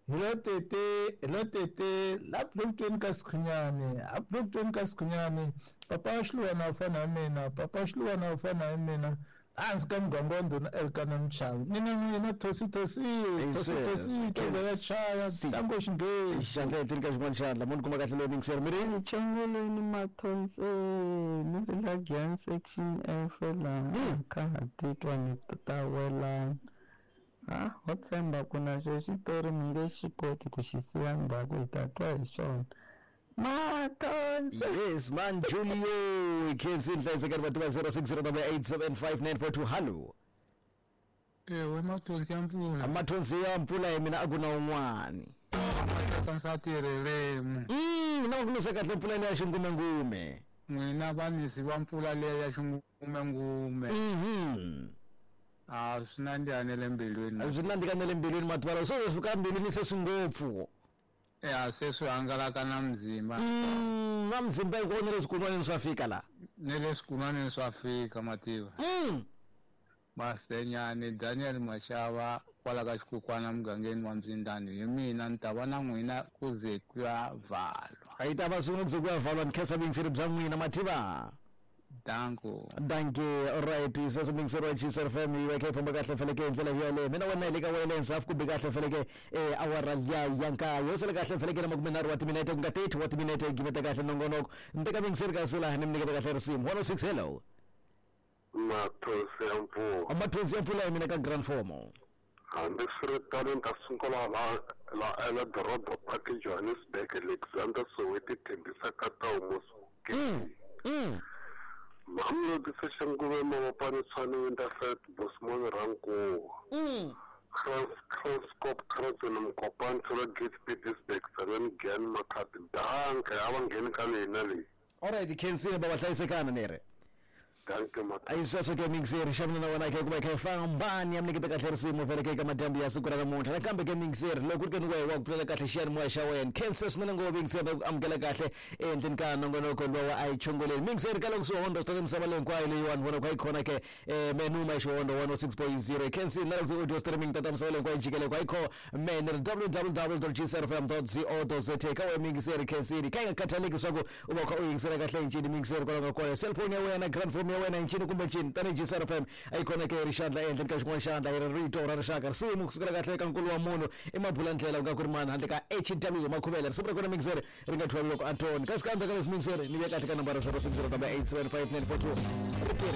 Hi lo tete, hi lo tete, la Bloemfontein ka Sikhunyani, a Bloemfontein ka Sikhunyani, papa wa Xiluwana u fana na mina, papa wa Xiluwana u fana na mina, hansi ka muganga wa ndhuna Elkana Mchavi. Mina n'wina thosi thosi, thosi thosi, thoza ya chaya, tango xinghezi. Xandla ehenhleni ka xin'wana xandla mo ni kuma kahle loyi mingiseri mi ri Chongolweni Mathonseni ri la Giyani section F laha kha ha titwa ni ta welana. Ha ho tshemba ku na xo xitori mi nge xi koti ku xi siya ndzhaku hi ta twa hi xona. Mathonse. Yes man Julio khensi nhlayiseka ri vativa 0608875942 hallo. Ewe mathonsi ya mpfula. Mathonsi ya mpfula hi mina a ku na un'wani. Mathonsi ririmi. Na ku nisa kahle mpfula leya xingumengume. N'wina vanisi va mpfula leya ya xingumengume. A swi nandziha ne le mbilwini. Swi nandzika ne le mbilwini mativalo so swi ka mbilwini se swi ngopfu. Ya se swi hangalaka na mzimba. Na mzimba hinkwawo na le swikunwaneni swa fika la. Ne le swikunwaneni swa fika mativa. Masenyani Daniel Mashava kwala ka xikukwana mugangeni wa Mzindani hi mina ni ta va na n'wina ku ze ku ya vhalwa. A yi ta va swin'we ku ze ku ya vhalwa ni khensa vuyingiseri bya n'wina mativa. Danko. Danke. Alright, sweswo muyingiseri wa GCR FM yi va kha yi famba kahle feleke hi ndlela yaleyo. Mina wena hi le ka wireless half kumbe kahle feleke eh awara liya ya nkaye. Yo sala kahle feleke na makumenharhu wa timinete ku nga 30 wa timinete yi gimeta kahle nongonoko. Ni teka muyingiseri kasi laha ni mi nyiketa kahle risimu. 106 hello. Mathonsi ya mpfula. Mathonsi ya mpfula hi mina ka Grand Fomo. Hambiswiritano ni ta sungula la la eLedorobha Park Johannesburg Alexander Soweto Tembisa Katau Moscow Mamelodi Soshanguve Mabopane Tshwane Winterveld Bosmon Rankuwa Kranskop Kranzweni Mokopane Tsolo Gate Pietersburg Tzaneen Giyani Makhado Danke a va ngheni ka leyi na leyi. Alright khensile baba hlayisekana ni ri. Danke Mathonsi. Ayi sweswo ke mixer xa mina na wena ke ku va kha famba ni ya mi nyiketa kahle risimu vhele ke eka madyambu ya siku ra namuntlha nakambe ke mixer loko ku ri ke ni wehe wa ku pfulela kahle xiyanimoya xa wena khensa swinene ngopfu mixer va ku amukela kahle ehenhleni ka nongonoko lowa a yi chongoleni mixer ka loko swihondo swi misava leyi hinkwayo leyiwani vona ku a yi khona ke menuma xihondo 106.0 khensini na loko ti-audio streaming ta misava leyi hinkwayo jikele ku a yi kho mene ri www.gcrfm.co.za ka wehe mixer khensini ka yi nga khathaleki swa ku u va u kha u yingisela kahle hi ncini mixer kwalaho ka kona cellphone ya wena grandphone ya wena hi ncini kumbe ncini tanihi GCRFM a yi kona ke ri xandla ehenhleni ka xin'wana xandla hi ri rito ra rixaka risimu kusukela kahle eka nkulu wa munhu i mabula ndlela ku nga ku ri mani handle ka HW Makhuvele risimu ra kona mixer ri nga thwali loko a toni kasi ka endzhaku ka leswi mixer ni vuya kahle ka nambara 060 875 942.